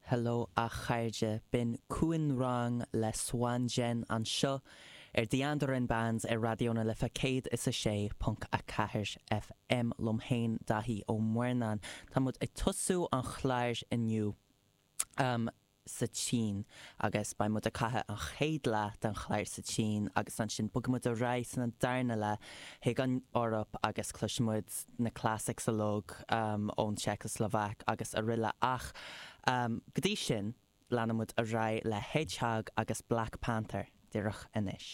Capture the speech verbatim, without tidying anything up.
Hello a chairde b'in Cuan Rang le Swan Jen anseo ar The Andoran Bands ar Raidió na Life céad is a sé ponc a ceathair FM liom féin Daithí Ó Muirneáin Tá muid ag tosú an chláir inniu um, sa tSín agus beidh muid ag caitheamh an chéad leath den chlár sa tSín agus ansin bogfaidh muid ar aghaidh san an darna leath chuig an Eoraip agus cloisfimid na classics uilig um, ón Czechoslovak agus araile ach um, go dtí sin leanfaimid ar aghaidh le Hedgehog agus Black Panther díreach anois.